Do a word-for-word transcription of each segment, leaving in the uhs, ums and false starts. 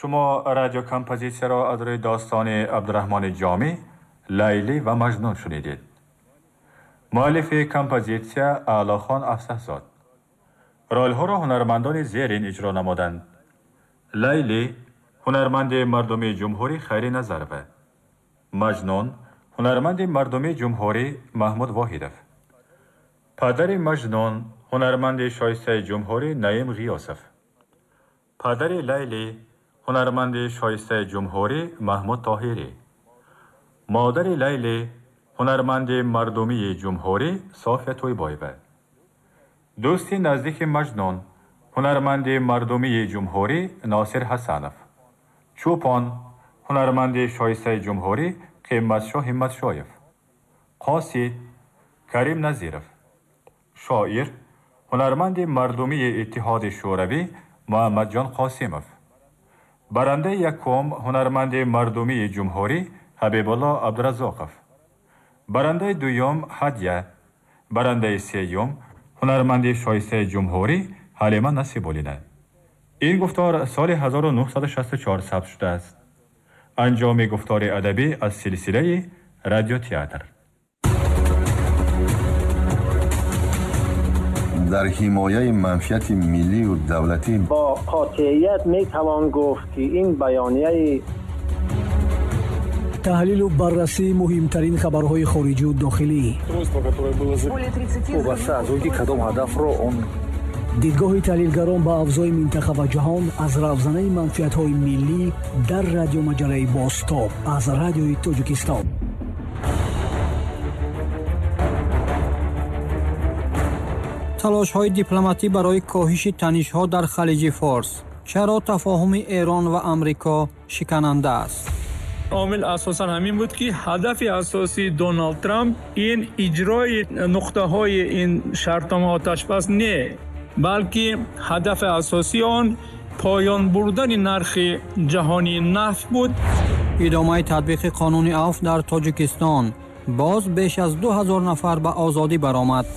Шумо радиокомпозитсияро аз рӯи достони Абдураҳмони Ҷомӣ «Лайлӣ ва Маҷнун» шунидед. Муаллифи композитсия Аълохон Афсаҳзод. Ролҳоро ҳунармандони зерин иҷро намуданд: Лайлӣ, ҳунарманди мардумии ҷумҳурӣ Хайри Назарова, Маҷнун, ҳунарманди мардумии ҷумҳурӣ Маҳмуд Воҳидов, падари Маҷнун, ҳунарманди шоистаи ҷумҳурӣ Наим Ғиёсов, падари Лайлӣ, ҳунарманди шоистаи ҷумҳурӣ Маҳмуд Тоҳирӣ, модари Лайлӣ, ҳунарманди мардумии ҷумҳурӣ София Тӯйбоева, дӯсти наздики Маҷнун, ҳунарманди мардумии ҷумҳурӣ Носир Ҳасанов, чӯпон, ҳунарманди шоистаи ҷумҳурӣ Қиматшоҳ Ҳимматшоев, қосид Карим Назиров, шоир, ҳунарманди мардумии Иттиҳоди Шӯравӣ Муҳаммадҷон Қосимов, барандаи якум, ҳунарманди мардумии ҷумҳурӣ Ҳабибулло Абдуразоқов, барандаи дуюм Ҳадя, барандаи сеюм ҳунарманди шоистаи ҷумҳурӣ Ҳалима Насибуллина. Ин гуфтор соли ҳазору нуҳсаду шасту чор сабт шудааст. Анҷоми гуфтори адабӣ аз силсилаи радиотеатр. Дар ҳимояи манфиати миллию давлатӣ бо қотеият метавон гуфт, ки ин баёнияи таҳлилу баррасии муҳимтарин хабарҳои хориҷию дохилӣ, вобаста аз он ки кадом ҳадафро он дидгоҳи таҳлилгарон ба авзои минтақа ва ҷаҳон аз равзанаи манфиатҳои миллӣ дар радиомаҷалаи «Бозтоб» аз Радиои Тоҷикистон. Талошҳои дипломатӣ барои коҳиши танишҳо дар Халиҷи Форс. Чаро тафоҳуми Эрон ва Амрико шикананда аст? Омил асосан ҳамин буд, ки ҳадафи асосии Доналд Трамп ин иҷрои нуқтаҳои ин шартнома оташбас не, балки ҳадафи асосии он поён бурдани нархи ҷаҳонии нафт буд. Идомаи татбиқи қонуни афв дар Тоҷикистон. Боз беш аз ду ҳазор нафар ба озодӣ баромад.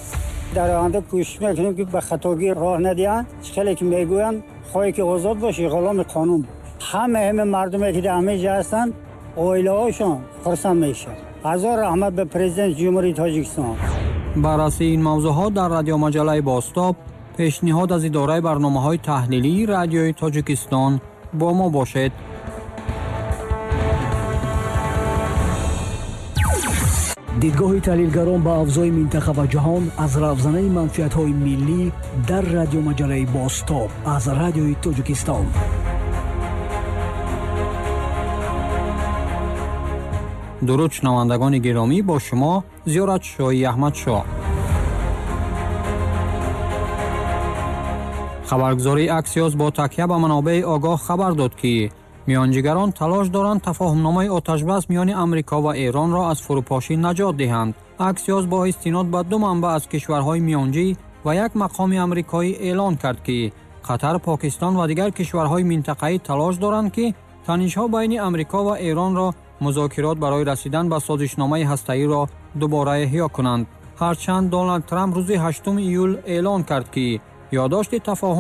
Дар оянда кӯшиш мекунем, ки ба хатогӣ роҳ надиҳанд. Хеле ки мегӯянд, хоҳӣ ки озод бошӣ, ғуломи қонун. Ҳама ҳама мардуме ки дар ҳама ҷо ҳастанд, оилаҳошон хурсанд мешаванд. Ҳазор раҳмат ба президенти Ҷумҳурии Тоҷикистон. Баррасии ин мавзӯъҳо дар радиомаҷалаи «Бозтоб», пешниҳод аз идораи барномаҳои таҳлилии Радиои Тоҷикистон. Бо мо бошед. Дидгоҳи таҳлилгарон ба авзои минтақа ва ҷаҳон аз равзанаи манфиатҳои миллӣ дар радиомаҷалаи «Бозтоб» аз Радиои Тоҷикистон. Дуруд, шунавандагони гиромӣ, бо шумо Зиёратшоҳи Аҳмадшоҳ. Хабаргузории Аксиос бо такя ба манобеи огоҳ хабар дод, ки миёнҷигарон талош доранд тафоҳумномаи оташбас миёни Амрико ва Эронро аз фурӯпошӣ наҷот диҳанд. Аксиос бо истинод ба ду манбаъ аз кишварҳои миёнҷӣ ва як мақоми амрикоӣ эълон кард, ки Қатар, Покистон ва дигар кишварҳои минтақаӣ талош доранд, ки танишҳо байни Амрико ва Эронро музокирот барои расидан ба созишномаи ҳастаиро дубора эҳё кунанд. Ҳарчанд Доналд Трамп рӯзи ҳаштуми июл эълон кард, ки ёддошти тафоҳум